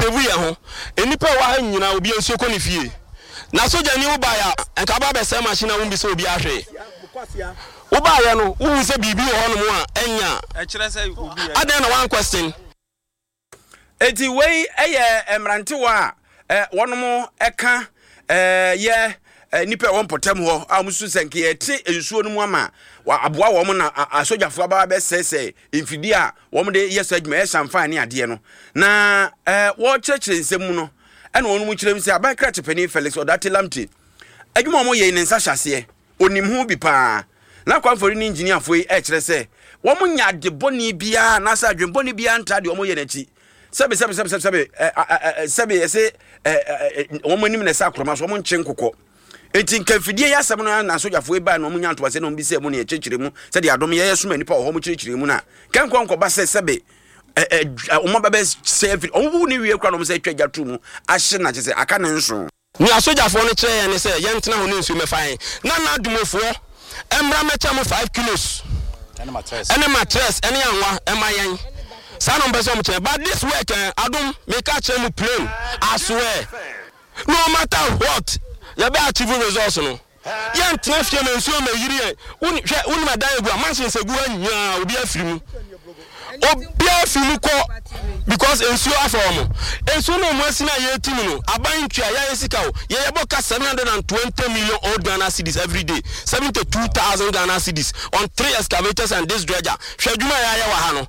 save yɛn ho. Nnipa a ɛwɔ ha nyinaa obiara nsuo kɔ ne fie. Na sogyani wo baeɛ a, nka aba abɛsɛe machine a wommisa obiara hwee. Wo baeɛ no, wohuu sɛ biribi wɔ hɔnom a ɛnyɛ a, adɛn na woan question? Enti wei yɛ mmerantewa a wɔnom ka yɛ nnipa a ɛwɔ mpɔtam hɔ a wɔsusu sɛ nka yɛte nsuo no mu ama aboa wɔn na asogyafoɔ aba bɛsɛesɛe mfidie a wɔde yɛ saa adwuma yɛ samfan ne adeɛ no na wɔkyerɛkyerɛ nsɛm mu no ɛna wɔn mu kyerɛ mu sɛ aban krakye panin Felix Odartey Lamptey adwuma a wɔyɛ yi ne nsa hyɛ aseɛ Onim ho bi paa. Na Kwamfori ne engineerfoɔ yi ɛkyerɛ sɛ wɔn nyɛ ade bɔne biara anaasɛ adwene bɔne biara ntaa deɛ wɔn yɛ n'akyi. Sɛbe sɛbe sɛbe sɛbe sɛbe ɛ ɛ ɛ sɛbe ɛsɛ ɛ ɛ wɔn anim na ɛsɛ akorɔma so wɔn nkye nkokɔ. Enti nka mfidie yi asɛm no na asogyafoɔ yi baa na wɔn nya ntoaseɛ na wɔn bisa mu na yɛkyerɛkyerɛ mu sɛdeɛ adom yɛyɛ soma nnipa wɔ hɔ wɔn kyerɛkyerɛ mu no a kɛnkɔ nkɔba sɛ sɛbe ɛ ɛ wɔn aba bɛsɛ afiri wɔn bu ne wie koraa na wɔn sɛ atwa gya to mu ahye na kyerɛ sɛ aka ne nso. Nea asogyafoɔ no kyerɛɛ yɛn ne sɛ yɛntena hɔ na nsuo mmɛfa yɛn, na n'ademufoɔ mmra mmɛkyɛ mo 5 kilos ne matress ne anwa mma yɛn. Saa na wɔpɛ sɛ wɔkyerɛ. But this work eh, adom, meka akyerɛ mo plain, I swear, no matter what, yɛbɛ achieve results no. Yɛntena fie ma nsuo mmɛyiri yɛn. Woni, hwɛ, wonim adan egu a, mansions egu ha nyinaa, obi afiri mu. Obiara fi mu kɔ because nsuo afa wɔn. Nsuo no a wɔn asi no a yɛreti mu no, aban ntua, yɛayɛ sika o. Yɛ yɛbɔ ka 720 million old Ghana cedis every day, 72,000 Ghana cedis on three excavators and this dredger. Hwɛ adwuma a yɛayɛ wɔ ha no.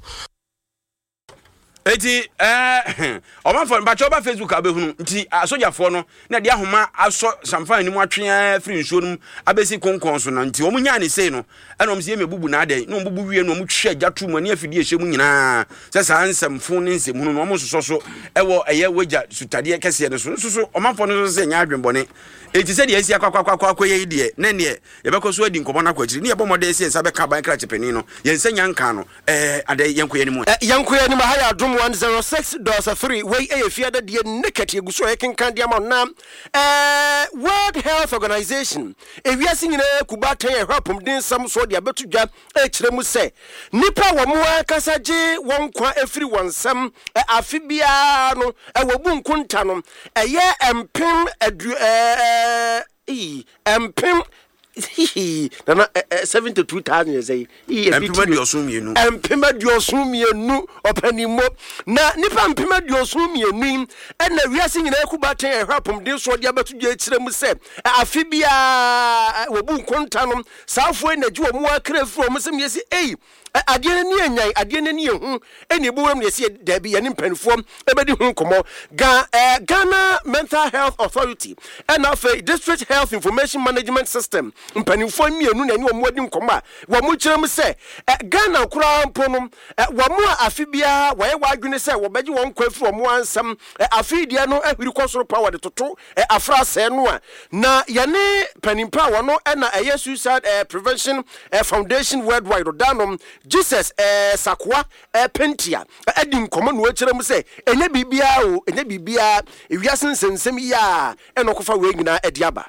Eti ɛɛ ɔmanfoɔ mpakyɛ ɔba Facebook a wobɛhunu nti asogyafoɔ no na ɛde ahoma asɔ samfa anim atwe ara firi nsuo no mu abɛsi konkɔn so na nti wɔn nyaa ne sei no ɛna wɔn sɛ yɛmɛ bubu na adɛn na wɔn bubu wie na wɔn twɛ gya to mu ne afidie ɛhyɛ mu nyinaa sɛ saa nsɛmfo ne nsɛmhunu no wɔn nsosɔ so ɛwɔ ɛyɛ wagya sutadeɛ kɛseɛ no so nso so ɔmanfoɔ no nso sɛ nyɛ adwenbɔne eti sɛ deɛ asi akɔ akɔ akɔ akɔ yɛ yi deɛ na neɛ yɛbɛkɔ so adi nkɔmɔ no akɔ akyiri ne yɛbɔ mmɔden sɛ yɛn nsa bɛka aban krakye panin no yɛn nsa nya nka no Ɛɛ adɛn yɛnkɔ yɛn anim ɛ. Yɛnkɔ yɛn anim, aha yɛ Adom 106.3, wei yɛ fie adadie naked, yɛgu so a yɛkenkan de ama wo na eh, World Health Organization, ewiase nyinaa kubaatan a ɛhwɛ apɔmuden nsɛm soɔ de abɛto dwa ɛrekyerɛ mu sɛ nnipa a wɔn ankasa gye wɔn nkwa firi wɔn nsam afe biara no wɔbu nkonta no ɛyɛ mpem adu ɛɛ mpem Hihi, nana ɛ ɛ 72,000 yɛ sɛn? Ii, ebi Mpem ti 72. 72,000 ɔpanimmo. Na nnipa 72,000 yi ɛna wiase nyinaa ku baatan a ɛhwɛ apɔmuden soɔ de abɛto dwa akyerɛ mu sɛ ɛ, afe biara ɛ, wɔbu nkonta no. Saa afoɔ yi na ɛgye wɔn akra firi wɔn nsam yɛsi ei, Ɛ, adeɛ no ani anyan, adeɛ no ani ehu, ɛna ebu wuram na yɛsi yɛ, daabi, yɛne mpanimfoɔ ɛbɛdi ho nkɔmmɔ. Ga, ɛ, Ghana Mental Health Authority, ɛna afei District Health Information Management System mpanimfoɔ mmienu na ɛne wɔn adi nkɔmmɔ a wɔn kyerɛ mu sɛ, ɛ, Ghana koraa mpo no, ɛ, wɔn a afe biara wɔayɛ wɔn adwene sɛ wɔbɛgye wɔn nkwa afiri wɔn ara nsam, ɛ, afe yi deɛ no ahwiri kɔ soro paa wɔde toto ɛ, afra sɛɛ no a, na yɛne panin pa a wɔno na ɛyɛ Suicide ɛ, Prevention ɛ, Foundation Worldwide ɔdanom Jesus ɛ, Sakoa ɛ, Pentia ɛ, adi nkɔmmɔ na ɔkyerɛ mu sɛ ɛnyɛ biribiara o, ɛnyɛ biribiara, ewiase nsɛnsɛm yi a ɛna ɔkɔfa wei nyinaa de aba.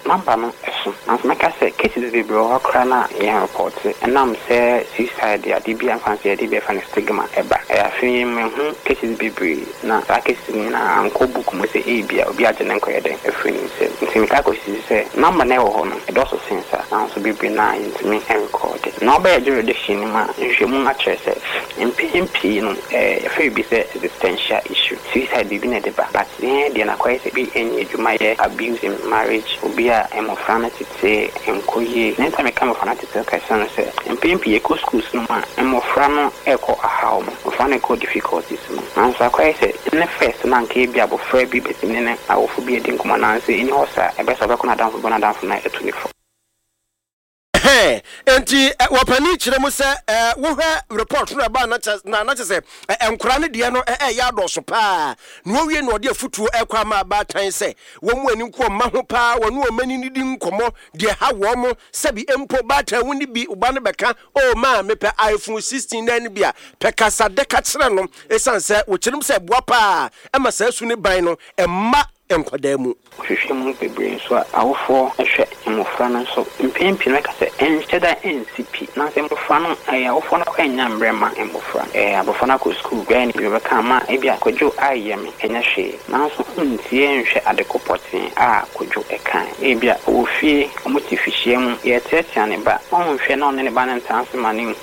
Number no so, nanso mɛka sɛ cases bebree wɔ hɔ koraa no a yɛn report ɛnam sɛ suicide yɛ ade bi a mfa no sɛ yɛde bi a yɛfrɛ no stigma ɛba. Afei mahu cases bebree na saa cases no nyinaa ankɔ book mu sɛ ebia obi agye ne nkwa yɛ dɛn afiri ne nsam. Nti metaa kɔsisi sɛ number no a ɛwɔ hɔ no ɛdɔɔso sen saa nanso bebree no ara yɛntumi nrekɔɔde. Na wobɛyɛ jurisdiction no mu a nhwehwɛmu akyerɛ sɛ mpɛn pii no yɛfrɛ biribi sɛ existential issue, suicide biribi na ɛde ba but Yɛn deɛ no akɔyɛ sɛ bi nyɛ adwuma yɛ, abuse in marriage, obi a mmɔfra no tete nkɔ yie. Nea nti a meka mmɔfra no tete kɛse ne sɛ, mpɛn pii yɛkɔ schools no mu a, mmɔfra no rekɔ ahaw mu, mmɔfra no rekɔ difficulties mu. Nanso akɔyɛ sɛ ne first no anka ebia abɔfra bi bɛtumi ne ne awofo bi adi nkɔmmɔ nanso ɛnni hɔ saa, ɛbɛyɛ sɛ ɔbɛkɔ n'adamfo bi hɔ na n'adamfo no atu ne fo. Ɛhɛn, enti wɔpanin kyerɛ mu sɛ wohwɛ report no a ɛbaa na kyɛ na na kyɛ sɛ nkwadaa no deɛ no ɛyɛ adɔɔso paa. Na wɔwie na wɔde afutuo ɛkɔ ama abaatan sɛ wɔn mu ani nko wɔn mma ho paa, wɔne wɔn ani nidi nkɔmmɔ deɛ ɛha wɔn, sɛbi mpo baatan wo ne bi wo ba no bɛka oh maa mepɛ iPhone 16 na ɛno bi a, pɛ kasa dɛ ka kyerɛ no ɛsiane sɛ wɔkyerɛ mu sɛ ɛboa paa ɛma saa su ne ban no mma. nkwadaa mu. Wohwehwɛ mu bebree nso a, awofoɔ hwɛ mmofra no nso. Mpɛn pii no mɛka sɛ ɛnhyɛ da nsi pi. Nanso mmofra no, ɛyɛ awofoɔ no koraa nnya mmerɛ mma mmofra no. Ɛɛ abɔfra no akɔ sukuu, bɛyɛ no biribi ɔbɛka ama ebia Kwadwo ayɛ me, ɛnyɛ hwee. Nanso wontie nhwɛ ade ko pɔtee a Kwadwo kae. Ebia ɔwɔ fie, wɔte fihyia mu, yɛreteatea ne ba. Ɔnhwɛ na ɔne ne ba no ntena ase ma no nhu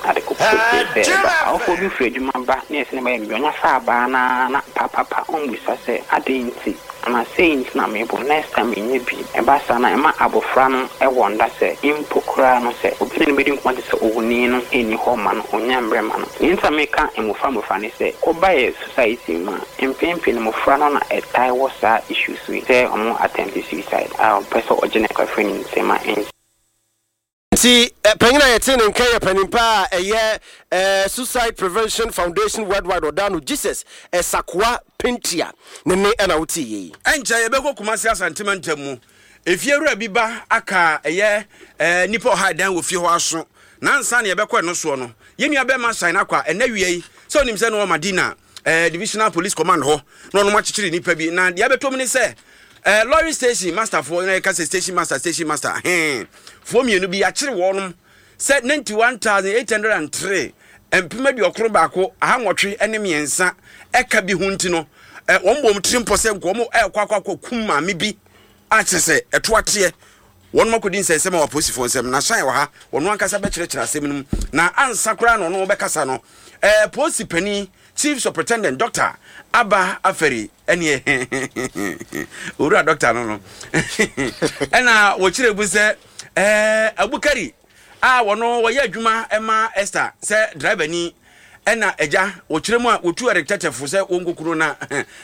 ade ko pɔtee sɛ ɛba. Awofoɔ bi firi adwuma ba na yɛse ne ba yɛ biribi, ɔnya fa abaa no ara na papapa ɔmmisa sɛ adɛn nti. Anaa sei nti na mebɔ, next time menyɛ bi. Ɛba saa no a, ɛma abofra no wɔ nda sɛ mpo koraa no sɛ obi ne no bedi nkɔmmɔ te sɛ owuni no nni hɔ mma no, onnya mbrɛ mma no. Nea nti a meka mmofra mmofra ne sɛ, woba yɛ society mu a, mpɛn pii no mmofra no na ɛtae wɔ saa issues yi sɛ wɔn attempt suicide a ɔpɛ sɛ ɔgye ne nkwa firi ne nsam a ɛnsɛ. Nti panyin a yɛtee ne nka yɛ panin pa a ɛyɛ Suicide Prevention Foundation Worldwide ɔda no Jesus Sakoa Pentia ne nne na wotee yei. Ɛnkyɛ yɛbɛkɔ Kumasi Asante mantam mu. Efiewura bi ba aka ɛyɛ nnipa ɔha ɛdan wɔ fie hɔ aso. Na ansa na yɛbɛkɔ ɛno soɔ no, yɛn nua bɛrima Shine Akwa ɛnɛ wia yi, sɛ onim sɛ na ɔwɔ Madina Divisional Police Command hɔ na ɔnom akyekyere nnipa bi. Na deɛ abɛtɔ mu ne sɛ lorry station master foɔ na yɛka sɛ station master station master hɛn foɔ mmienu bi yɛakyere wɔnom sɛ 91,803 813,803 ɛka bi ho nti no wɔn bɔ wɔn tiri mpɔ sɛ nka wɔn ɛrekɔ akɔ akɔ kum maame bi a kyerɛ sɛ ɛto ateɛ wɔn akɔdi nsɛnsɛm wɔ apolisifoɔ nsɛm na hyɛn wɔ ha wɔn ankasa bɛkyerɛkyerɛ asɛm no mu na ansa koraa na ɔno bɛkasa no ɛɛ polisi panin Chief Superintendent Doctor Abba Aferi ɛneɛ owura doctor no no ɛna wɔkyerɛ mu sɛ ɛɛ Abukari a wɔno wɔyɛ adwuma ɛma Esther sɛ driver ni ɛna agya wɔkyerɛ mu a wɔtu Eric Tɛtɛfo sɛ wɔnkɔkuro na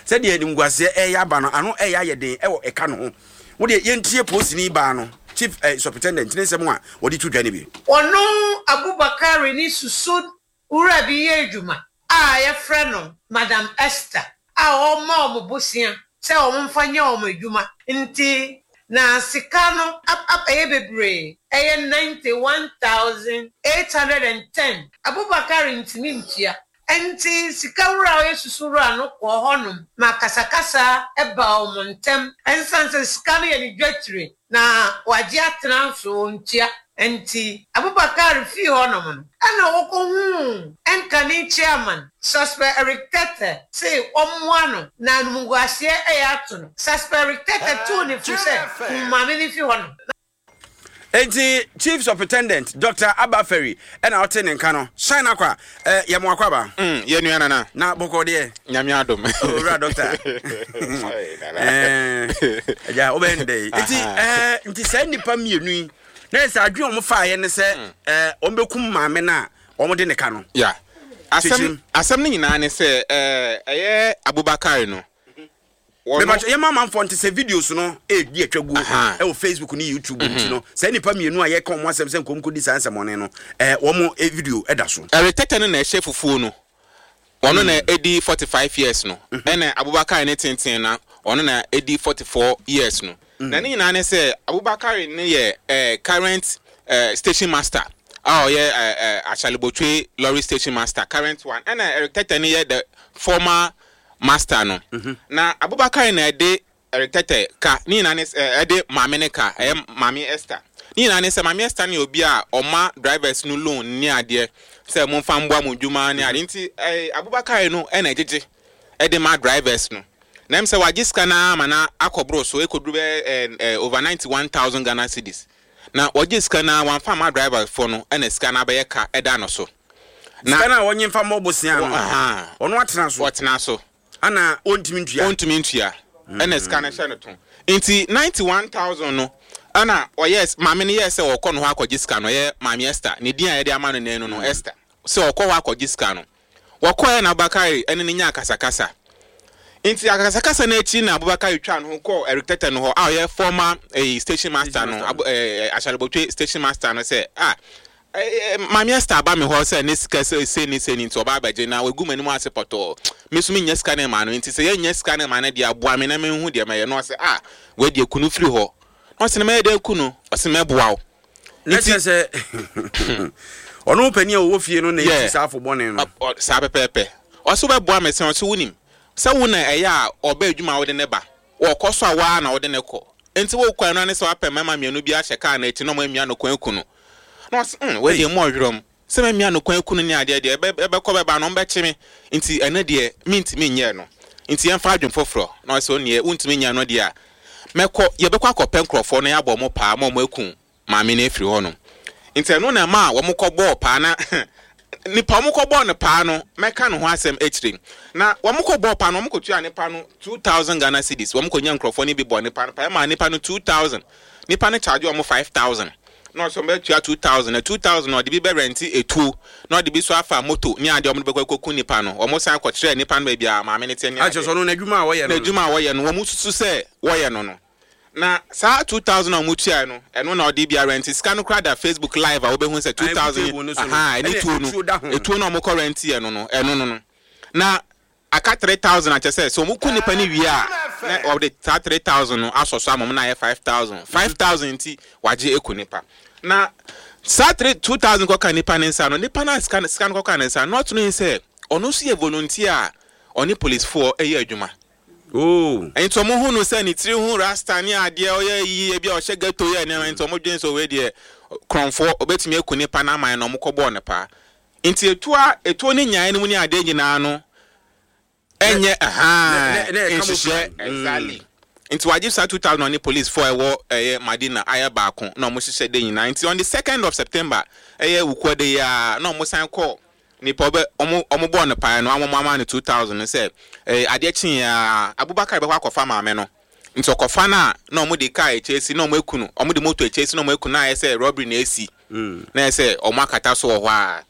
sɛdeɛ animguaseɛ ɛyɛ aba no ano ɛyɛ ayɛ den ɛwɔ ɛka no ho wodeɛ yɛntie polisini baa no Chief eh, Superintendent ne nsɛm a wɔde to dwa no bi. Ɔno Abubakari ne susu Wura bi yɛ adwuma a wɔfrɛ no Madam Esther a ɔma wɔn bosea sɛ wɔmfa nyɛ wɔn adwuma nti na sika no abɛyɛ bebree, ɛyɛ 91,810. Abubakar ntumi ntua, nti sika wura a ɔyɛ susu wura no kɔɔ hɔnom ma akasakasa baa wɔn ntam ɛnsan sɛ sika no yɛ ne dwatire na wagye atena nso ɔntua. Enti Abubakar fii hɔnom no, ɛna ɔkɔhuu ɛnkane chairman, Suspect Eric Tetteh, se ɔmmoa no na animguaseɛ ɛyɛ ato no. Suspect Eric Tetteh tuu no fo sɛ, Kum maame no fi hɔnom. Enti Chief Superintendent Doctor Abba Ferry ɛna ɔte ne nka no. Shine Akwa, eh, yɛ mo akwaaba. Mm, yɛ nua nana. Na bɔkɔ deɛ. Nyame adom. Owura doctor. Eh, agya, wobɛyɛ ne dɛ yi. Nti, eh, nti saa nnipa mmienu yi, na ɛsɛ adwene wɔn faeɛ ne sɛ, mm. eh, wɔn bɛkum maame no a wɔn de ne ka no. Yeah. Asɛm, asɛm no nyinaa ne sɛ, eh, ɛyɛ Abubakar no. Mepakyɛ yɛma amanfoɔ nte sɛ videos no ɛredi atwa guo ɛwɔ Facebook ne YouTube nti no saa nnipa mmienu a yɛka wɔn asɛm sɛ nkɔm kɔdi saa nsɛmɔne no wɔn video ɛda so. Ɛretɛtɛ no na ɛhyɛ fufuo no ɔno na ɛdi 45 years no ɛna Abubakar ne tenten na ɔno na ɛdi 44 years no na ne nyinaa ne sɛ Abubakar ne yɛ current station master a ɔyɛ Ashaley lorry station master current one ɛna Ɛretɛtɛ no yɛ the former master no. Na Abubakar na ɛde Tɛtɛ ka, ne nyinaa ne sɛ, ɛde maame no ka, ɛyɛ Maame Esther. Ne nyinaa ne sɛ, Maame Esther no yɛ obi a ɔma drivers no loan ne adeɛ sɛ momfa mboa mo dwuma ne adeɛ. Nti Abubakar no na ɛgyegye de ma drivers no. Na ɛm sɛ wagye sika no ara ma no akɔboro so, ɛkɔduru bɛyɛ over 91,000 Ghana cedis. Na wɔgye sika no ara, wamfa amma drivers foɔ no, ɛna sika no abɛyɛ ka ɛda no so. Na Sika no a wɔnye mfa mmɔ bosea no, ɔno atena so. Ɔtena so. Ana ɔntumi ntua. Ɔntumi ntua. Ɛna sika no hyɛ no to. Nti 91,000 no, ɛna ɔyɛɛ, maame no yɛɛ sɛ ɔrekɔ ne hɔ akɔgye sika no, ɔyɛ Maame Esther, ne din a yɛde ama no nnɛ no no, Esther, sɛ ɔrekɔ hɔ akɔgye sika no. Wɔkɔeɛ na Abubakari ne no nyaa akasakasa. Nti akasakasa no akyi na Abubakari twaa ne ho kɔɔ Eric Tetteh no hɔ a ɔyɛ former eh, station master no, Abu, eh, eh, Ashalebotwe station master no sɛ, ah, eh, eh, Maame Esther aba me hɔ sɛ ne sika sɛ sei ne sei ne nti ɔba abɛgye na wagu m'anim ase pɔtɔɔ. Me nso mennya sika no mma no nti sɛ yɛnnya sika no mma no deɛ aboa me na menhu deɛ mɛyɛ. Na ɔsɛ, ah, wei deɛ ku no firi hɔ. Na ɔsɛ na mɛyɛ dɛn aku no? Ɔsɛ mɛboa wo. Na kyerɛ sɛ ɔno panin a ɔwɔ fie no na ɛsi saa afo bɔne no. Saa pɛpɛɛpɛ. Ɔsɛ wobɛboa me sɛ ɔsɛ wonim sɛ wo na ɛyɛ a ɔba adwuma a wode ne ba. Wɔkɔ so a wo ara na wode no kɔ. Enti wokɔ a ɛno ara ne sɛ woapɛ mmarima mmienu bi ahyɛ kaa no akyi na wɔamia no kwan aku no. Na ɔse, hmm, wei deɛ emu ɔwerɛm. Sɛ mamia no kwan aku no ne adeɛ deɛ, ɛbɛ, ɛbɛkɔ bɛba no, wɔbɛkye me. Nti ɛno deɛ, mentumi nyɛɛ no. Nti yɛmfa adwene foforɔ. Na ɔse, onneɛ, wontumi nyɛɛ no deɛ a, mɛkɔ, yɛbɛkɔ akɔpɛ nkorɔfoɔ na yɛabɔ wɔn paa ma wɔaku maame no afiri hɔnom. Nti ɛno na ɛmaa wɔkɔbɔɔ paa na nipa a wɔkɔbɔɔ no paa no, mɛka ne ho asɛm akyire. Na wɔkɔbɔɔ paa no, wɔkɔtuaa nipa no 2000 Ghana cedis. Wɔkɔnya nkurɔfoɔ no bi bɔɔ nipa no paa, ɛmaa nipa no 2000. Nipa no charge wɔn 5000. Na ɔsɛ wɔbɛtua 2000, na 2000 no ɔde bi bɛrɛnte etuo, na ɔde bi nso afa moto ne adeɛ a wɔde bɛkɔ akɔku nipa no. Wɔsan kɔkyerɛɛ nipa no baabi a maame no te ne Akyerɛ adeɛ. sɛ ɔno n'adwuma a wɔyɛ no no. N'adwuma a wɔyɛ no, wɔsusu sɛ wɔyɛ no no. Na saa 2000 a wɔtuae no, ɛno na ɔde bi arɛnte. Sika no koraa da Facebook live a wobɛhu sɛ Ae, gu 2000, table no so no, ahaa, ɛne ɛne tuo no, etuo da ho. etuo no a wɔkɔ rɛnteɛ no no, ɛno no no. Na aka 3000 a kyerɛ sɛ, sɛ wɔku nnipa no wie a, na wɔde saa 3000 no asɔ so ama wɔn na ayɛ 5000. 5000 nti, wɔagye aku nnipa. Na saa 3, 2000 kɔka nnipa no nsa no, nnipa no a sika no, sika no kɔka ne nsa no, na ɔto no sɛ ɔno nso yɛ volunteer a ɔne policefoɔ yɛ adwuma. Oh. Nti ɔmo hu no sɛ ne tiri ho rasta ne adeɛ ɔyɛ yiye bi a ɔhyɛ ghetto yɛ nneɛma nti ɔmo dwen sɛ wei deɛ korɔnfoɔ ɔbɛtumi aku nipa no aman na ɔmo kɔ bɔɔ no paa. Nti etuo a etuo ne nyaeɛ no mu ne adeɛ nyinaa no ɛnyɛ ahaa nhyehyɛ exactly. Nti wagye saa 2000 ɔne police foɔ a ɛwɔ ɛyɛ Madina ayɛ baako na ɔmo hyehyɛ de nyinaa nti on the second of September ɛyɛ Wukuada yi ara na ɔmo san kɔɔ Nipa ɔbɛ ɔmo ɔmo bɔɔ no paeɛ no ama ɔmo ama no 2000 no sɛ ɛɛ adeɛ kyeeɛ ara Abubakar bɛkɔ akɔfa maame no nti ɔkɔfa no a na ɔmo de car akyɛ asi na ɔmo aku no ɔmo de motor akyɛ asi na ɔmo aku no na ayɛ sɛ robbery na asi na ayɛ sɛ ɔmo akata so wɔ hɔ ara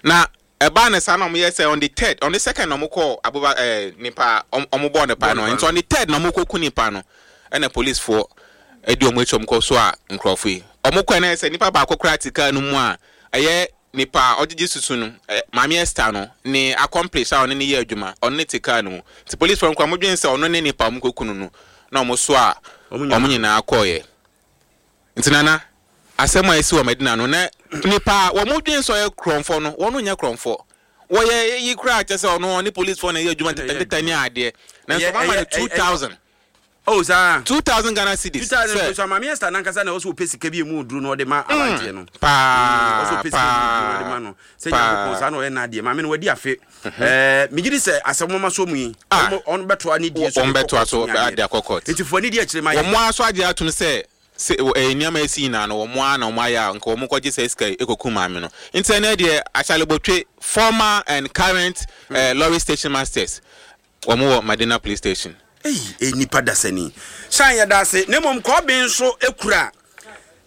na ɛbaa no saa na ɔmo yɛ sɛ on the third on the second na ɔmo kɔɔ Abuba ɛɛ nipa a ɔmo ɔmo bɔɔ no paeɛ no nti on the third na ɔmo kɔ ku nipa no ɛna police foɔ ɛdi ɔmo akyi ɔmo kɔ so a nkorɔfo yi ɔmo kɔɛ na ayɛ sɛ nipa baako koraa te car no mu a ɛyɛ Nipa a ɔgyegye susu no, Maame Esther no, ne accomplice a ɔne no yɛ adwuma, ɔno ne te car no mu. Nti policefoɔ no koraa wɔdwene sɛ ɔno ne nipa a wɔkɔku no no, na wɔsoaa wɔn nyinaa kɔeɛ. Nti Nana, asɛm a asi wɔ Madina no, na nipa a wɔdwene sɛ ɔyɛ korɔmfoɔ no, wɔn nyɛ korɔmfoɔ. Wɔyɛ eyi koraa kyerɛ sɛ ɔno ɔne policefoɔ na ɛyɛ adwuma ntetɛ ne adeɛ. Nanso wɔama no 2000. Oh saa. 2000 Ghana cedis. 2000 sɛ. So Maame Esther nankasa na ɔsɛ ɔpɛ sika bi emu oduro na ɔde ma mm. aberanteɛ no. Paa. Ɔsɛ ɔpɛ sika bi emu oduro na ɔde ma no. Sɛ Nyankopɔn saa na ɔyɛ n'adeɛ. Maame no wadi afe. Mhm. Ɛɛ megye di sɛ asɛm mama so mu yi. Ah. Wɔn bɛtoa ne die so. Wɔn bɛtoa so ade akɔ court. Nti fo ani di akyire ma yɛ. Wɔn ara so agye atum sɛ sɛ ɛɛ nneɛma esi nyinaa no wɔn ara na wɔn ayɛ a nka wɔn kɔgye sɛ sika yi ekokum maame no. Nti ɛnɛ deɛ Achalebotwe former and current mm. lorry station masters Wɔn wɔ Madina police station. Ei nnipa dasani. Shine yɛda ase na mmom kɔɔben nso kura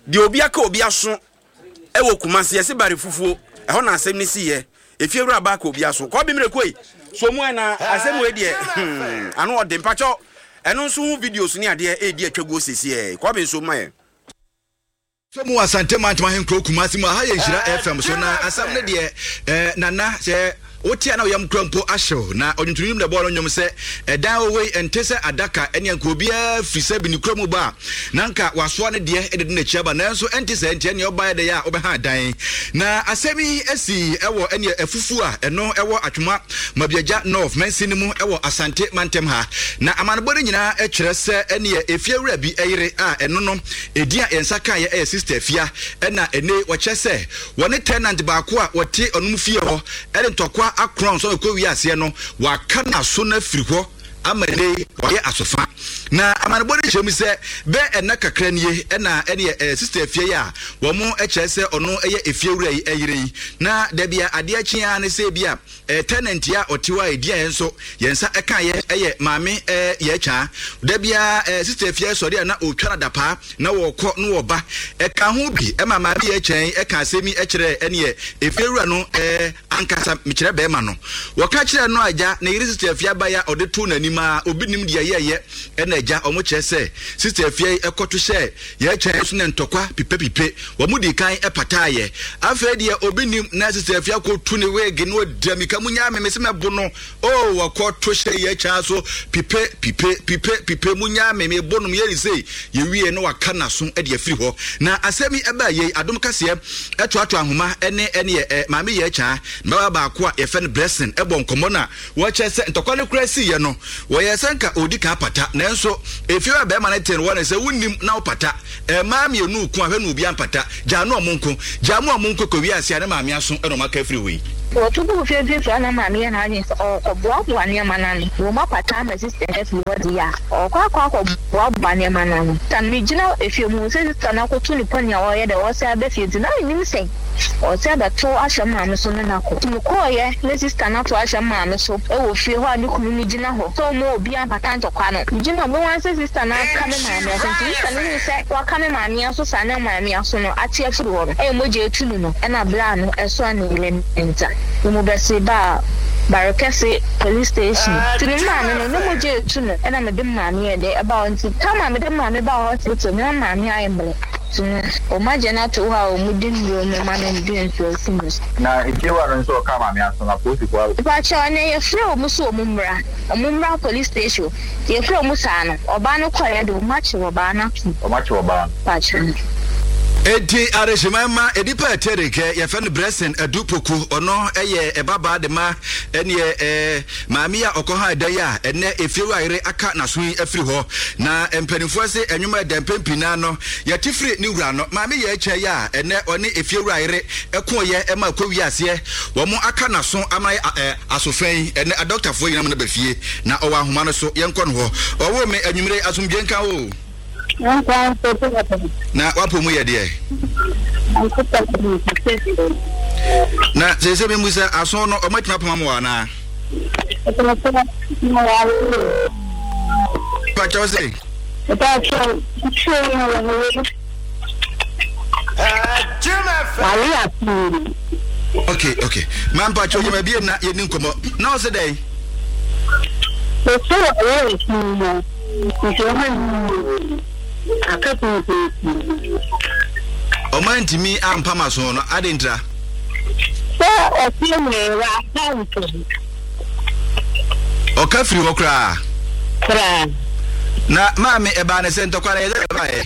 deɛ obi aka obi aso wɔ Kumasi yɛse bare fufuo ɛhɔ na asɛm no siiɛ efie wura ba aka obi aso kɔɔben mmerɛ koi so mu ɛna asɛm wei deɛ hmm, ano ɔde mpakyɛw ɛno nso ho videos ne adeɛ ɛredi atwaguo sesiɛ kɔɔben so ma yɛ. Fɛ mu wɔ Asante Mantam ahenkuro Kumasi mu aha yɛ Nhyira FM so na asɛm no deɛ eh, Nana sɛ wote a na woyam kura mpo ahyew na ɔnwontoni nim na ɛbɔɔ no nnwom sɛ ɛdan wɔ wei ɛnte sɛ adaka ɛne anka obiara firi sɛ bi ne kura mu ba a na anka wasoa ne deɛ ɛde de n'akyi aba nanso ɛnte sɛ nti ɛneɛ ɔbaeɛ dɛ a wobɛha dan na asɛm yi asi ɛwɔ ɛneɛ afufuo a ɛno ɛwɔ Atwoma Mabiagya North mansin no mu ɛwɔ Asante mantam ha na amanebɔ no nyinaa ɛkyerɛ sɛ ɛneɛ efiewura bi ɛyere a ɛno no Edin a yɛn nsa kaeɛ yɛ Sister Afia ɛna ɛnɛ yi wɔkyerɛ sɛ wɔne tenant baako a wɔte ɔnom fie hɔ de ntɔkwa akorɔn sɛ ɔkɔ wie aseɛ no waka n'aso no afiri hɔ ama ɛnɛ yi wɔayɛ asofa. Na amanebɔ no kyerɛ mu sɛ bɛ ɛna kakra nie ɛna ɛneɛ ɛɛ Sister Afia yi a wɔn kyerɛ sɛ ɔno yɛ efiewura yi ɛyere yi na dabi a adeɛ kye ara ne sɛ ebi a Eh, tenant a ɔte hɔ a ɛdi a yɛn nso yɛn nsa ɛka yɛ ɛyɛ maame eh, yɛ twaa. Da biara eh, sister afia sɔre a na ɔtwa no adapaa na wɔkɔ na wɔba. Ɛka ho bi ɛma maame yɛ kyɛn ɛka asɛm yi ɛkyerɛ ɛneɛ efie wura no eh, ankasa mekyerɛ bɛrima no. Wɔka kyerɛ no agya ne yere sister afia ba ya ɔde too n'anim a obi nim deɛ yɛyɛ ɛna agya ɔmo kyerɛ sɛ sister afia yi ɛkɔto hyɛ Yɛn kyɛn so na ntɔkwa pipepipe. Wɔn dii kan pataeɛ. Afei deɛ obi nim na Sista Afia kɔtu ne wig na ɔdi amika mu nyaa me mese mɛbo no. Oh wɔkɔ to hyɛ yɛn kyɛn so pipe pipe pipe pipe mu nyaa me mebo no yɛ ne sei. Yɛwie na waka n'aso de afiri hɔ. Na asɛm yi ɛbaa yei Adom Kaseɛ ɛtoatoa nhoma ɛne ɛneɛ ɛ Maame Yɛɛ Kyaa ne babaa baako a yɛfɛ no Blessing ɛbɔ nkɔmmɔ na Wɔkyerɛ sɛ ntɔkwa no koraa siiɛ no, wɔyɛɛ sɛ nka ɔredi kan apata, nanso Efie hɔ a bɛrima no te no wɔ ne sɛ wonnim na wopata. Mmaa mmienu reko a hwɛ na obiara mpata. Gyaa no ɔmo nko. Gyaa mu a ɔmo nko kɔ wiase a ne maame aso na ɔmo aka afiri hɔ yi. Wɔto guu fie mfimfini a na maame yɛ n'adwene sɛ ɔrekɔboaboa nneɛma no ano. Wɔ mu apata ama sista no afiri hɔ deɛ a, ɔrekɔ akɔ akɔboaboa nneɛma no ano. Sista no, megyina efie mu hu sɛ sista no akɔto ne pony a ɔreyɛ dɛ ɔresan aba fie nti na mennim sɛ ɔresan abɛto ahyɛ maame so ne no akɔ. Nti mekɔeɛ na sista no ato ahyɛ maame so wɔ fie hɔ a ne kunu no gyina hɔ sɛ ɔmma obiara mpata ntɔkwa no. Megyina hɔ, mehu ara sɛ sista no aka me maame aso nti sista no hui sɛ waka me maame aso saa na maame aso no ate afiri hɔ no, ɛyɛ mogya atu no no ɛna bra no ɛsoa ne yere ne nsa no mu bɛse baa Barekɛse police station nti me maame no na mogya atu no ɛna mede me maame yɛɛ dɛ ɛbaa hɔ nti time a mede me maame baa hospital no na maame ayɛ mmerɛ nti no wɔn agye no ato hɔ a wɔn de nnuro no ma no de nsuo asi ne so. Na efiewura no nso ɔkaa maame aso no apolisifoɔ aba. Mepakyɛw ɛnɛ yɛfrɛ wɔn sɛ wɔn mmra wɔn mmra police station. Yɛfrɛ ɔmo saa no, ɔbaa no kɔeɛ de, ɔmo akye ɔbaa no atom. Ɔmo akye ɔbaa no. Pakyɛ. Enti Adehyeman mma nnipa a ɛte rekɛ, yɛfrɛ no Blessing Adu Poku, ɔno yɛ ɛbabaa de ma ɛneɛ ɛɛ maame yi a ɔkɔ ha ɛda yi a ɛnɛ efiewura yere aka n'aso yi afiri hɔ. Na mpanimfoɔ se ɛnwom a ɛda mpɛn pii naa no yɛte firi ne wura no. Maame yɛ ɛkyɛ yi a ɛnɛ ɔne efiewura yere ɛkoeɛ ɛma ɛkɔ wie aseɛ wɔn aka n'aso ama ɛɛ Aso fã yi, ɛnnɛ adɔktafoɔ nyinaa ma no ba fie, na ɔwɔ ahoma no so. Yɛnkɔ no hɔ. Ɔwoo me anwummere yi, asomdwoeɛ nka wo o. Na w'apɔ mu yɛ deɛ? Na seesei memmisa, aso no wɔatumi apam ama wo anaa? Pakyɛw se? Okay, okay. Ma mpakyɛw gyama biem na yɛni nkɔmmɔ. Na ɔse dɛn? Ɔse wɔyɛ nsuo no nti ɔma aka pii. Ɔma ntumi ampam aso no ade ntira? Sɛ ɔse wee wampa nso. Ɔka firi hɔ koraa. Koraa. Na maame ɛbaa ne sɛ ntɔkwa no yɛ dɛ ɛbaeɛ.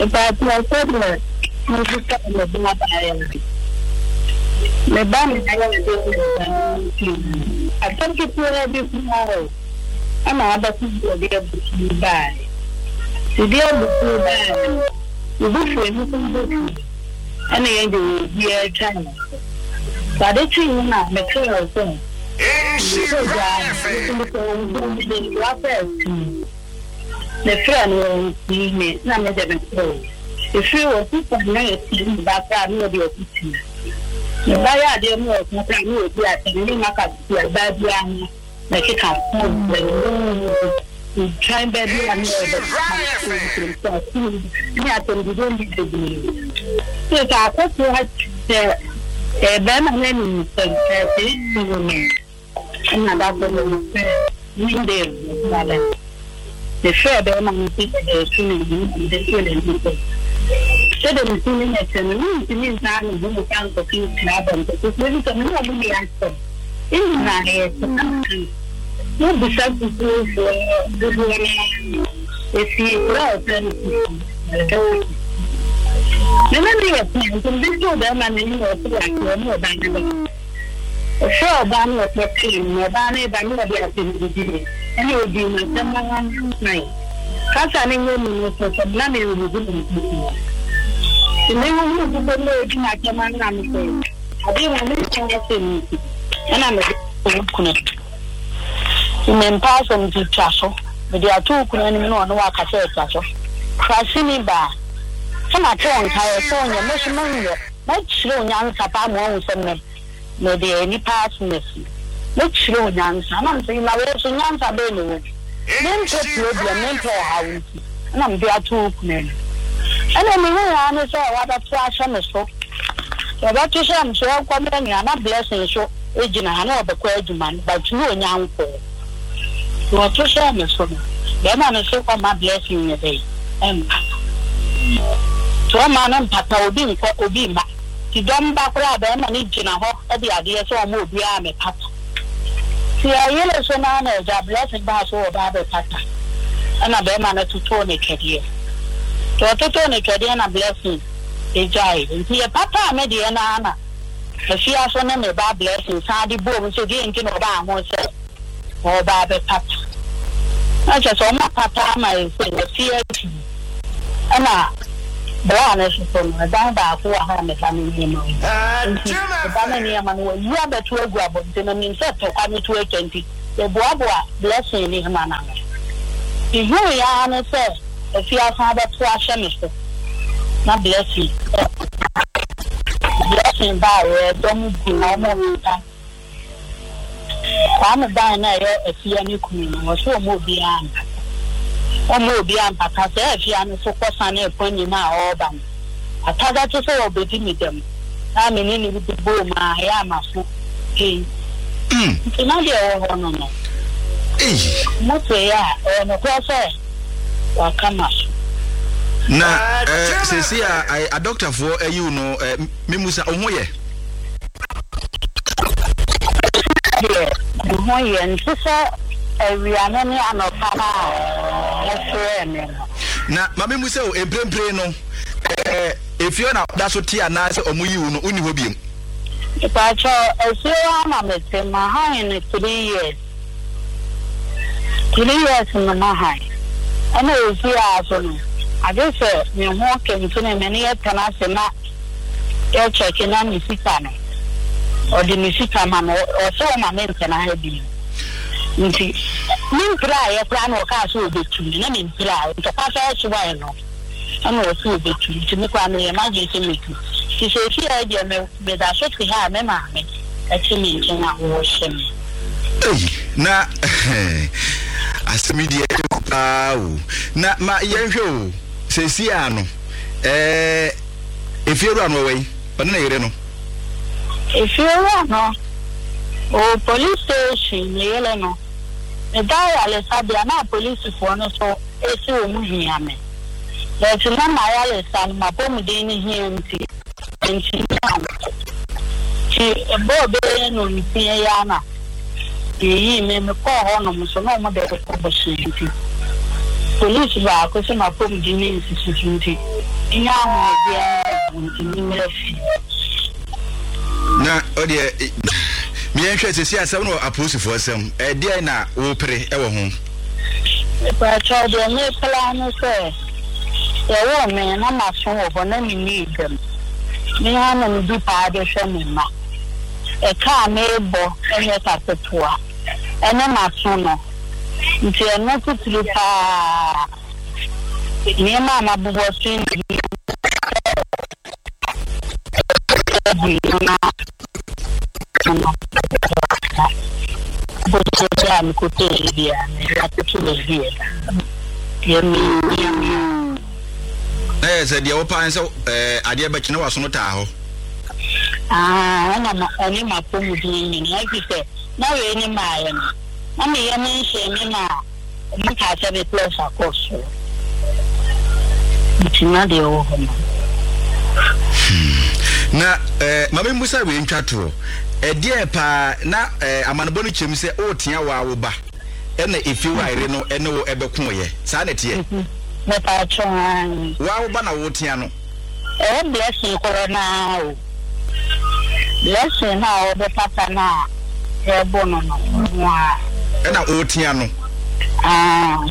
Mpakyɛw sɛdeɛ mebisa me ba abaayewa no, me ba na ayɛ adeɛ wɔ me ba no nti no, asɛm ketewa bi koraa o, ɛna abɛto sɛ ɔde abufuo baeɛ. Ɔde abufuo baeɛ no, ne bo fuu ne ho bo fuu, ɛna yɛn deɛ obiara twa yɛn so. Sɛ ade kyeeɛ no a, mefrɛɛ wo sɛ, mepɛ gyaa no, mesɛ wo mede w'asɛ atum. Mefrɛɛ no ɔannsii me na me de mekɔe. Efir hɔ sista no na yɛtse me ba koraa na ɔde ɔko tia. Me ba yɛ adeɛ na ɔka koraa na ɔdi atɛm ne maka tia baa biara no mɛkeka ho brɛ no ntwan ba bi a na ɔbɛka ne atɛmdidie ne bebree. Sɛ akɔsoa sɛ bɛrima no anim sɛ ɛɛ me. Ɛnna da koro no mefrɛɛ Wendell Messiah. Mefrɛɛ barima no sɛ mede reto n'anim na mede too n'anim sɛ, Sɛdeɛ me ti ne me te no, merentumi nsan me ho mfa nkɔto nhyira abɔnten so, efisɛ me ne wɔn nni asɛm. Mmom na ɛyɛ sɛ na meka no. Wobisa sukuufoɔ dodoɔ no ara a, ɛfiri kuro a wɔfrɛ no Kusi, Malakasisi. Me ne no yɛ pɛ, nti mede too barima no anim na ɔtee aseɛ, ɔne ɔbaa no bɛkasa. Ɔfrɛɛ ɔbaa no na ɔkɔtee no, na ɔbaa no reba no na ɔde asɛm didii no, ɛnna odii n'asɛm ara mae. Kasa no nyɛ mu no so sɛ na merehuhu me nkukuo. Nti mehuhuu nkukuo no na ɔredi m'asɛm ara na mesɛ, Ade ma menka asɛm nti, ɛnna mede too wo kunu anim. Nti mempɛ asɛm nti twa so. Mede ato wo kunu anim na ɔne wo akasa atwa so. Kuraseni baa, sɛ mate wo nka ɛ, sɛ wonyɛ, me nso menyɛ. Mɛkyerɛ wo nyansa paa ma woahu sɛ me, mede nnipa asom asi. Mɛkyerɛ wo nyansa. Ɛna mese, na wo nso nyansa bɛn na ɛwɔ mu? Mempɛ problem, mempɛ ɔhaw nti na mede ato wo kunu anim. Ɛna mehui ara ne sɛ wabɛto ahyɛ me so. Wɔbɛto hyɛɛ me so, yɛnkɔ me nua, na Blessing nso gyina ha, na ɔbɛkɔ adwuma no, but na ɔnnya nkɔɔ. Nti wɔto hyɛɛ me so no, bɛrima no se ɔmma Blessing nyɛ dɛn? Ɛmpata. Nti ɔmma no mpata, obi nkɔ, obi mma. Nti dɔm ba koraa a, bɛrima no gyina hɔ de adeɛ sɛ ɔmma obiara mmɛpata. Nti yɛyere so no ara na agya Blessing baa so ɔba abɛpata, ɛna bɛrima no totoo no twɛdeɛ. Nti ɔtotoo no twɛdeɛ na Blessing gyaee. Nti yɛpataa me deɛ no ara na Afiaso ne me ba Blessing san de boom sɛ deɛ nti na ɔbaa ho sɛ ɔreba abɛpata. Na kyerɛ sɛ wɔapata ama yɛn sɛ yɛafi adi. Ɛna bra no nso so no, ɛdan baako wɔ ha a me ba no nneɛma wɔ mu. Nti me ba no nneɛma no wɔayi abɛto agu abɔnten. Na menim sɛ tɔkwa no to atwa nti, meboaboa Blessing nneɛma no ano. Mehuui ara ne sɛ afie asan abɛto ahyɛ me so. Na Blessing Blessing baeɛ, dɔm gu na wɔreka. Kwame dan no a ɛyɛ Afia ne kunu no, ɔse ɔmma obiara mpata. Ɔmma obiara mpata. Sɛ Afia no so kɔsane ɛpɔn no a ɔreba no, ataga te sɛ ɔrebɛdi me dɛm na me ne no bɔɔ mu a, ɛyɛ a m'aso pei. Nti na deɛ ɛwɔ hɔ no no, motee a, ɛyɛ nokorɛ sɛ waka m'aso. Na eh, seesei a adɔktafoɔ ayi wo no, eh, memusa, wo ho yɛ? Deɛ me ho yɛ nte sɛ awia no ne anɔpa no a wofrɛɛ me no. Na ma memmisa o, mprempren no, ɛɛ, efie hɔ na woda so te anaasɛ wɔyii wo no, wonni hɔ bio? Mepakyɛw, efie hɔ ara na mete, mahan no 3 years. 3 years no mahan. Ɛna efie ha so no, agye sɛ me ho kentene me ne yɛtena ase na yɛ check na me sika no ɔde me sika ma me ɔse ɔma me ntena ha bio nti me mpiraeɛ koraa na ɔkaa sɛ ɔbɛtu me na me mpiraeɛ ntɔkwa sɛ ɔsoae no ɛna ɔse ɔbɛtu nti me koraa meyɛ m'adwene sɛ mɛtu nti seesei a deɛ me meda so te ha a me maame ɛte me nkyɛn a ɔrehyɛ me. Ei, na asɛm yi deɛ ɛyɛ paa o. Na ma yɛnhwɛ o, seesei a no, ɛɛ. Efiewura no ɔwɔ yi? Ɔne ne yere no. Efiewura no ɔwɔ police station, ne yere no. Meda ayaresabea na apolisifoɔ no nso se wɔn hia me. But na m'ayaresa no m'apɔmuden no hia nti mantumi ankɔ. Nti ɛbɔɔ bɛyɛ nnɔnsia yi ara na Yeyii me, mekɔɔ hɔnom nso na wɔde rekɔ bosea nti, polisi baako sɛ m'apɔmuden no nsisi so nti, menya ahomegyeɛ no nti memmra fie. Na ɔdeɛ meɛnhwɛ sɛsi asɛm no wɔ apolisifoɔ nsam, ɛdeɛn na wopere wɔ ho? Mepakyɛw deɛ mepere ara ne sɛ yɛwoo me na m'aso wɔ hɔ na menni dɛm, me ara na medi paa de hwɛ me mma. Ɛka a merebɔ nyɛ ka ketewa, ɛne m'aso no nti ɛno titiri paa. Nneɛma a mabobɔ so yi na ɛhia sɛ ɛbu no na no bosea a mekɔtɔɔ biara mede atoto baabi a ɛda. Deɛ mehia paa. Na yɛ sɛ deɛ wopaa ne sɛ adeɛ bɛkye na w'aso no taa hɔ. Aane, ɛna ma ɔne m'apɔmuden nyinaa, ɛfiri sɛ na wei ne maeɛ no, na me yam nhyee me maa wɔkaa sɛ me pressure kɔ soro, nti na deɛ ɛwɔ hɔ no. Hmm. Na eh, ma memmusa wei ntwa toɔ. Ɛdeɛn paa na eh, amanebɔ no kyerɛ mu sɛ woretea wo ara wo ba ɛna efie wo ayere no ɛne wo ɛbɛkoeɛ? Saa na ɛteɛ? Mepatwo, aane. Wo ara wo ba na woretea no? Ɛyɛ blessing korɔ no ara o. Blessing no a ɔbɛpata no a yɛbɔ no no ɔno ara. Ɛna ɔretea no. Ah.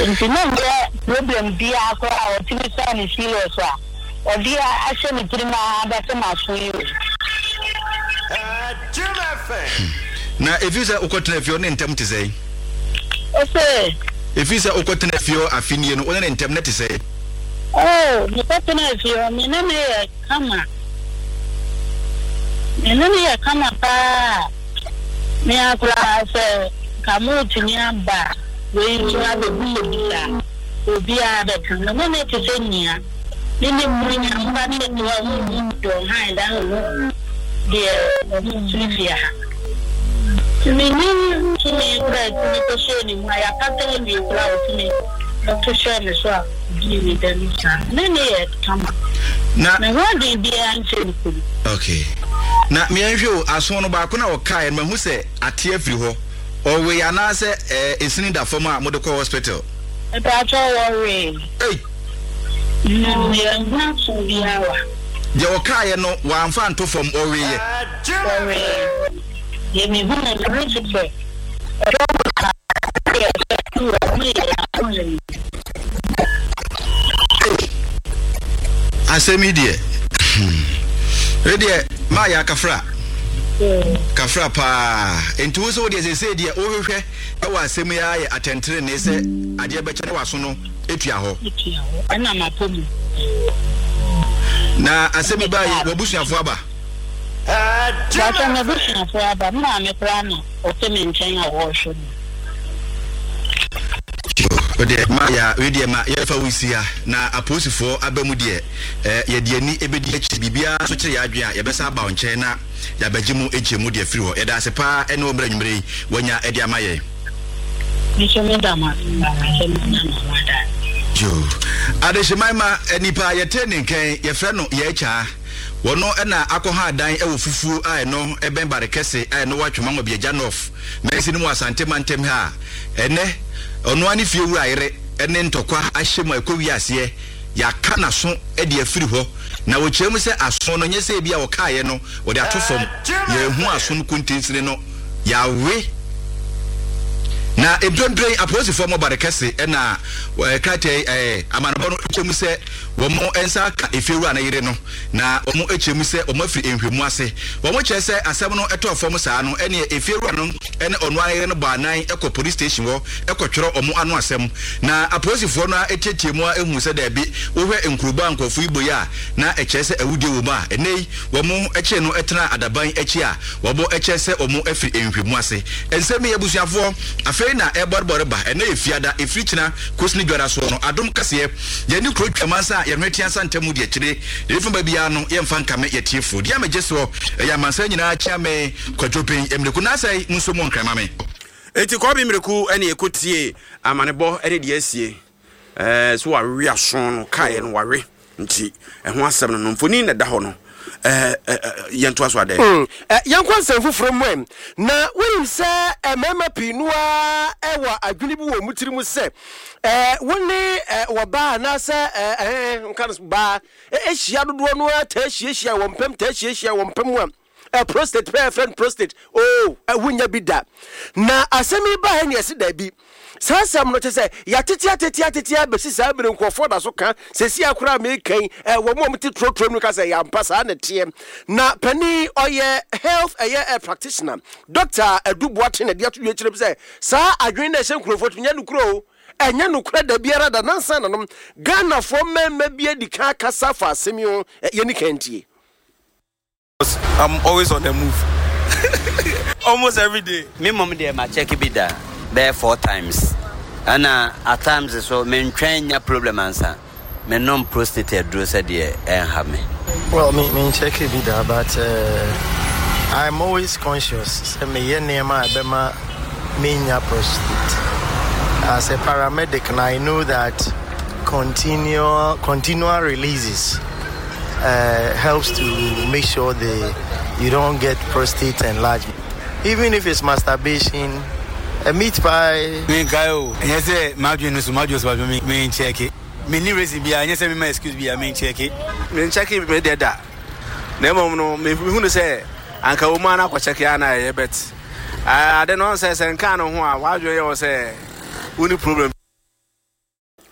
Nti na nyɛ problem biara koraa a ɔtumi saa ne serious a ɔde ahyɛ ne tirim ara bɛte m'aso yi o. Na ɛfiri sɛ wokɔtena fie ɔne ntɛm te sɛn? Ose. Ɛfiri sɛ wokɔtena fie hɔ afe nie no, wo ne ne ntɛm no te sɛn? Oh, mekɔtenaa fie hɔ, me ne no yɛ kama. Me ne no yɛ kama paa. Me ara koraa sɛ nka moretumi aba wei nso abɛbisabisa a, obiara bɛka. Me ne no te sɛ nua. Ne ne mu nya mma ketewa mu mu deɛ ɔhan da no mu deɛ ɔmo firi fie ha. Mennim tumi koraa a ɛtumi kɔhyɛɛ ne mu a yɛapata awie koraa a ɔtumi to hyɛɛ me so a ɔdii me dɛm saa. Ne nne yɛ kama. Na. Me ho adwene biara nkyɛ ne kunu. Okay. Na meɛnhwɛ o, aso no baako na ɔkaeɛ no mahu sɛ ate afiri hɔ. Ɔwee anaasɛ ɛɛ esini da fam a mode kɔ hospital? Mepakyɛw wɔwee. Ei! Mm, yɛnhu aso biara wa. Deɛ ɔkaeɛ no wamfa anto fam, ɔweeɛ. Ɔweeɛ. Deɛ mehunuu no, me nso sɛ ɛdɔm. Asɛm yi deɛ hmm. Wei deɛ maa yɛ akafra. Kafra paa. Nti wo sɛ wo deɛ sesei deɛ wohwehwɛ ɛwɔ asɛm yi ara yɛ atɛntenenee sɛ adeɛ bɛkyɛ na waso no etua hɔ. Etua hɔ. Ɛna mapɔ mu. Na asɛm yi baa yi w'abusuafoɔ aba? Bàtà m'abusuafoɔ aba. Me maame koraa na ɔte me nkyɛn a ɔrehwɛ me. Wodeɛ ma ya wei deɛ ma yɛmfa wo nsi ha na apolisifoɔ aba mu deɛ eh, yɛde ani ɛbɛdi akyiri biribiara nso kyerɛ yɛn adwene a yɛbɛsan aba wo nkyɛn na yɛabɛgye mu nkyerɛmu de afiri hɔ. Yɛda ase paa ɛne wo mmerɛ anwummerɛ yi wanya ɛde ama yɛn. Me nso meda mo ase paa sɛ moanya me ho adagyeɛ. Yoo. Adehyeman ma nipa a yɛte ne nkɛn yɛfrɛ no Yɛɛkyaa. Wɔno na akɔha dan wɔ fufuo a ɛno ɛbɛn Bare Kɛse a ɛno wɔ Atwema Nwabiagya North mansin mu wɔ Asante mantam ha a ɛnɛ ɔno ara ne fie wura yere ne ntɔkwa ahyɛ mu a ɛkɔ wie aseɛ yɛaka n'aso de afiri hɔ na wɔkyerɛ mu sɛ aso no nyɛ sɛ ebi a wɔkaeɛ no wɔde ato fam yɛahu aso no kontinsini no yɛawe na mprempren apolisifoɔ mmɔ Bare Kɛse na krataa yi amanebɔ no kyerɛ mu sɛ Wɔn nsa aka efiewura no yere no, na wɔkyerɛ mu sɛ wɔafiri nhwɛmu ase. Wɔkyerɛ sɛ asɛm no tɔɔ fam saa no, ɛneɛ efiewura no ne ɔno ara yere no bɔ anan kɔ police station hɔ kɔtwerɛ wɔn ano asɛm. Na apolisifoɔ no ara tiatia mu ara huu sɛ daabi, wohwɛ nkurobɔ a nkurɔfoɔ yi bɔ yi a, na ɛkyerɛ sɛ awudie wɔ mu a ɛnnɛ yi wɔkyee no tenaa adaban akyi a wɔkyerɛ sɛ wɔafiri nhwɛmu ase. Nsɛm yi abusuafoɔ, afei na ɛrebɔrebɔ reba. Ɛnnɛ yɛ Fiada, ɛfiri kyena kɔsi ne dwada soɔ no, Adom kaseɛ. Yɛne kuro twa amansa a yɛn ho atia nsa ntam di akyire. Deɛ ɛfiri ba biara no, yɛmfa nkame yɛn atiefoɔ. Deɛ megye soɔ, ɛyɛ amansan nyinaa Kyeame Kwadwo Ben Mmireku. Naasɛe, monso mu nkra ma me. Enti Kɔbe Mmireku ne ɛkɔ tie amanebɔ ne deɛ asie. Ɛɛ so wawe aso no kaeɛ no wawe nti ɛho asɛm no no mfoni na ɛda hɔ no ɛɛ yɛntoa so adɛn. Mm, yɛnkɔ nsɛm foforɔ mu ɛ. Na wonim sɛ mmarima pii no ara wɔ adwene bi wɔ wɔn tiri mu sɛ Eh, wo ne eh, wɔbaa anaasɛ eh, eh, nka no baa eh, ahyia dodoɔ no ara taa hyiahyia wɔn mpam taa hyiahyia wɔn mpam a eh, prostate pɛ yɛfrɛ no prostate oh, eh, wonya bi da na asɛm yi baa ne ɛse daabi saa asɛm no kyɛ sɛ yɛatete atete atete abɛsi saa bere nkurɔfoɔ da so ka sɛsi akora a meka yi eh, wɔn a wɔte torotoro no ka sɛ yɛampa saa na ɛteɛ na panin ɔyɛ health ɛyɛ eh, practitioner Doctor Adu Boateng na ɛde ato dwa kyerɛ mu sɛ Saa adwene no a ɛhyɛ nkurɔfoɔ tirim nyɛ nokorɛ o, ɛnyɛ nokorɛ da biara da. Nansa na nom Ghanafoɔ mmarima bi adi kan akasa afa asɛm yi ho, yɛnni kan ntie. I'm always on the move almost every day. Me mmom deɛ ma check bi da bɛyɛ 4 times ɛna at times so mentwɛn nya problem ansa. Mennom prostate aduro sɛdeɛ ɛnha me. Well, me me nkyɛke bi da but I'm always conscious sɛ meyɛ nneɛma a ɛbɛma menya prostate. As a paramedic na I know that continual releases helps to make sure the you don't get prostate enlargement. Even if it's masturbation, a meat pie. Menkae o, ɛnyɛ sɛ m'adwene no so, m'adwene so but me menkyɛke. Menni reason biara, ɛnyɛ sɛ mema excuse biara, menkyɛke. Menkyɛke me deɛ da, na mmom no mehu no sɛ anka wɔ mu ara na akɔkyɛke a na ɛyɛ but ade no ɔn sɛ sɛ nkaa no ho a w'adwene yɛ wo sɛ wonni problem.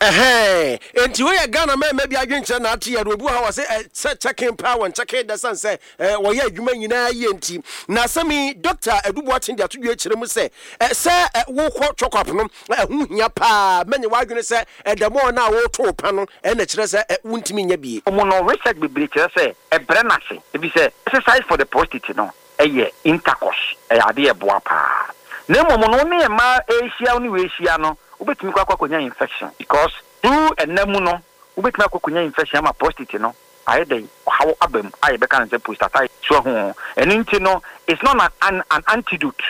Ɛhɛɛ, enti wei yɛ Ghana mmarima bi adwenkyerɛ na ate yɛ no. Obi wɔ ha wɔse ɛ, sɛ checking paa wɔn checking da sane sɛ ɛ, wɔyɛ adwuma nyinaa yie nti. Na asɛm yi, Dɔkta Adu Boateng de ato dwa kyerɛ mu sɛ, ɛ, sɛ ɛ, wokɔ chɔkɔp no, ɛ, ɛho hia paa. Mɛnyɛ w'adwene sɛ ɛ, dɛm ɔɔ no a woreto pa no ɛ, na ɛkyerɛ sɛ ɛ, wontumi nyɛ bie. Mu no, research bebree kyerɛ sɛ ɛbrɛ no ase efisɛ exercise for the prostate no yɛ intercourse, ɛyɛ adeɛ a ɛboa paa. Na mmom no wo ne mmaa rehyia wo ne wei rehyia no, wobɛtumi kɔ akɔ akɔnya infection because through ɛna mu no wobɛtumi akɔ akɔnya infection ama prostate no ayɛ dɛn, ɔhaw aba mu a yɛbɛka no sɛ prostatitis. So ahu? Ɛno nti no it's not an an antidote.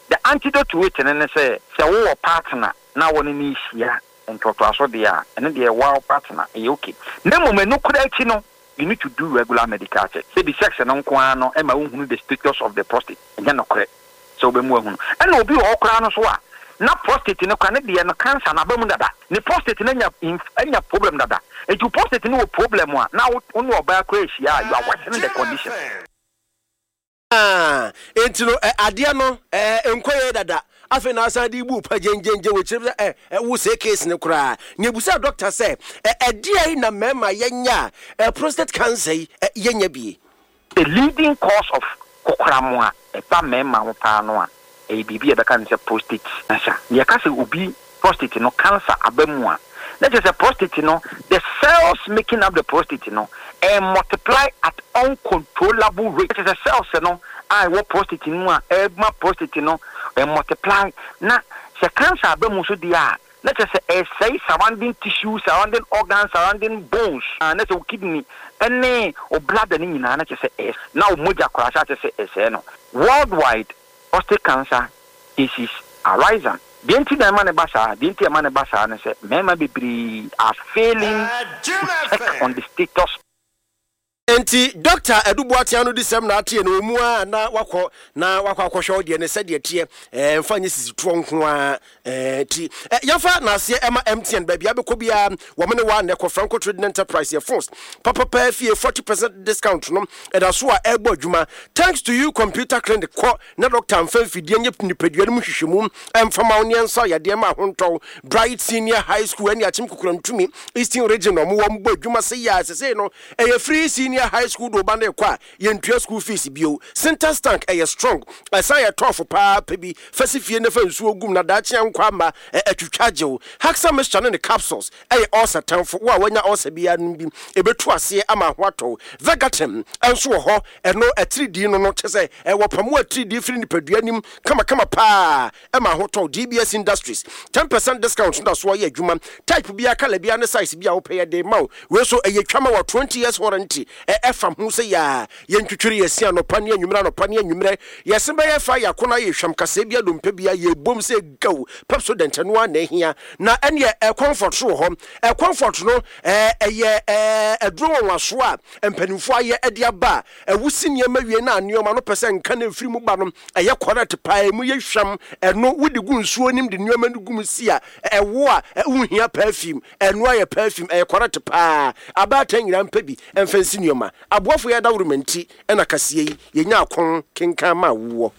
The antidote to it no ne sɛ, sɛ wowɔ partner na wo ne no rehyia ntoatoaso deɛ a, ɛno deɛ woa wo partner, ɛyɛ okay. Na mmom ɛno koraa akyi no, you need to do regular medical check. Sɛbi sex no nko ara no ɛma wohunu the status of the prostate, ɛnyɛ nokorɛ sɛ wobɛmu ahunu. Ɛna obi wɔ hɔ koraa no so a, na prostate no koraa ne deɛ no cancer no aba mu dada, ne prostate no anya inf anya problem dada. Nti wo prostate no wɔ problem a, na wo wo ne ɔbaa koraa rehyia a, you are worsening the condition. Enti no, adeɛ no, ɛnkɔ yie dada. Afei na asan de bu pa gyengyengyeng wɔ kyerɛ sɛ ɛ wo sɛ case no koraa. Na ebusa doctor sɛ ɛ ɛdeɛn na mmarima yɛnyɛ a ɛ prostate cancer yi ɛ yɛnya bie. The leading cause of kokoram a ɛba mmarima ho paa no a, ɛyɛ biribi a yɛbɛka no sɛ prostate cancer. Na yɛka sɛ obi prostate no cancer aba mu a, na kyerɛ sɛ prostate no, the cells making up the prostate no, ɛremultiply at uncontrollable rate. Na kyerɛ sɛ cells no a ɛwɔ prostate no mu a ɛrema prostate no ɛmultiply, na sɛ cancer aba mu nso deɛ a, na kyerɛ sɛ ɛresɛe surrounding tissues, surrounding organs, surrounding bones, na sɛ wo kidney ne wo bladder no nyinaa na kyerɛ sɛ ɛresɛe, na wo mogya koraa hyɛ aseɛ sɛ ɛresɛe no. Worldwide, prostate cancer cases are rising. Deɛ nti na ɛma no ba saa? Deɛ nti a ɛma no ba saa ne sɛ mmarima bebree are failing to check on the status. Enti Dɔkta Adu Boateng ano disɛm na ateɛ no wɔ mu ara na wakɔ na wakɔ akɔhwɛ wo deɛ no sɛdeɛ ɛteɛ ɛɛ mfa nyɛ sisitoɔ nko ara ɛɛ ti ɛ yɛmfa n'aseɛ ɛma MTN baabi abɛkɔ biara wɔn ne waa na ɛkɔ Franco Trading Enterprise yɛ phones papapaa fie 40% discount no ɛda so a ɛrebɔ adwuma thanks to you computer clinic kɔ na dɔkta mfa mfidie nyɛ nipadua no mu nhwehwɛmu mfa ma wo ne ɛnsa yadeɛ ma ahontɔw Bright Senior High School ɛne Akyem Kokorantumi Eastern Region na wɔn wɔ mbɔ adwuma sɛ yɛ a sesei no Ɛyɛ free senior high school de wo ba no rekɔ a yɛntua school fees bio. Sintex tank ɛyɛ strong ɛsan yɛ tough paa pɛ bi fa si fie na fa nsuo gum na daakye ankɔ amma ɛ atwitwa agye wo. Haxa mixture ne ne capsules ɛyɛ ulcer tamfo wo a wanya ulcer biara nom bi ɛbɛtu aseɛ ama ho atɔ wo. Vegatem nso wɔ hɔ ɛno atiridii no no kyɛ sɛ wɔpamo atiridii firi nipadua nim kamakama paa Ɛma ahotɔ wo. DBS Industries, 10 percent discount no da so yɛ adwuma. Type biara, colour biara ne size biara a wopɛ yɛde rema wo. Wei nso ɛyɛ twa ma wo 20 years warranty. Ɛ ɛfam ho sɛ yaa. Yɛntwitwiri yɛn se anɔpa ne anwummerɛ anɔpa ne anwummerɛ. Yɛn se bɛyɛ fa yɛn akɔnnɔ ayɛ hwam kasɛɛ biara dompe biara yɛbom sɛ gaw. Pepsodent ɛno ara na ɛhia. Na ɛneɛ ɛ Comfort nso wɔ hɔ. Ɛ Comfort no ɛ ɛyɛ ɛ aduro nwanwasoɔ a mpanimfoɔ ayɛ de aba a ɛwosi nneɛma wie na nneɛma no pɛ sɛ nka na ɛfiri mu ba no Ɛyɛ correct paa emu yɛ hwam ɛno wode gu nsuo nim de nneɛma no gu mu si a ɛwo a wonhia perfume ɛno ayɛ perfume ɛyɛ correct paa abaatan nyinaa mpɛ bi ɛmfa nsi nneɛma aboafo yɛ adaworoma nti ɛna kaseɛ yi yɛnya akon kenkan ma woɔ.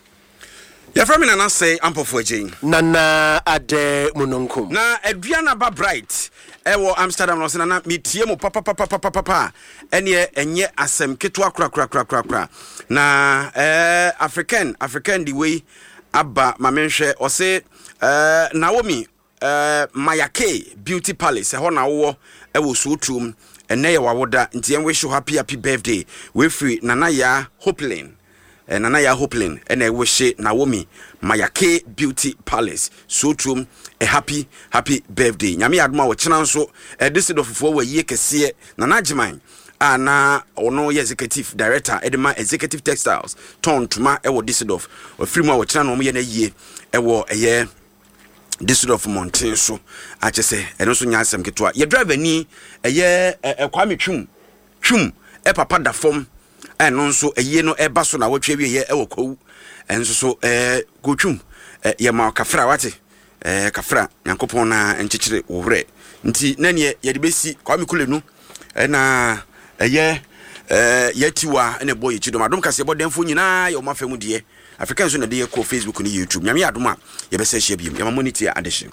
Yɛfrɛ me Nana Sɛe Ampɔfo Agyei. Nana Adɛ Mununkum. Na Aduanaba Bright ɛwɔ Amsterdam na ɔse Nana metie mo papapapapapa ɛneɛ ɛnyɛ asɛm ketewa korakorakorakora na eh, African African de wei aba ma menhwɛ ɔse eh, Naomi eh, Mayake Beauty Palace ɛhɔ na wowɔ ɛwɔ Suotuom ɛnɛ yɛ wawoda nti yɛn wish you happy happy birthday wei firi Nana Yaa Hopelin Eh, Nana Yaa Hopelin ɛna ɛwihye Naomi Mayake Beauty Palace Suotuom a happy happy birthday. Nyame yɛ adom a ɔkyena nso eh, Düsseldorffoɔ wɔ ayie kɛseɛ. Nana Agyeman a na ɔno yɛ executive director ɛde ma Executive Textiles tɔn ntoma ɛwɔ Düsseldorf. Ɔfiri mu a ɔkyena na wɔyɛ no ayie ɛwɔ ɛyɛ Düsseldorf mmɔnten so. Akyɛ sɛ ɛno nso nyɛ asɛm ketewa. Yɛ driver ni ɛyɛ ɛ Kwame Twum Twum papa da fam a ɛno nso ayie no ɛba so na wɔtwe awieɛ ɛwɔ kwawu ɛnso so ɛɛ kotwum yɛ ma kafra wate ɛɛ kafra nyankopɔn na nkyekyere wo werɛ nti na neɛ yɛde bɛsi Kwame Kulenu ɛna ɛyɛ ɛɛ yɛtiwa ɛna ɛbɔ yɛkyi dɔm adom kaseɛ bɔ dɛmfo nyinaa yɛ wɔn afɛ mu deɛ Afrika nso na ɛde yɛ kɔ Facebook ne YouTube nyame yɛ adom a yɛbɛsɛ ahyia biom yɛma mo ne tie adehye.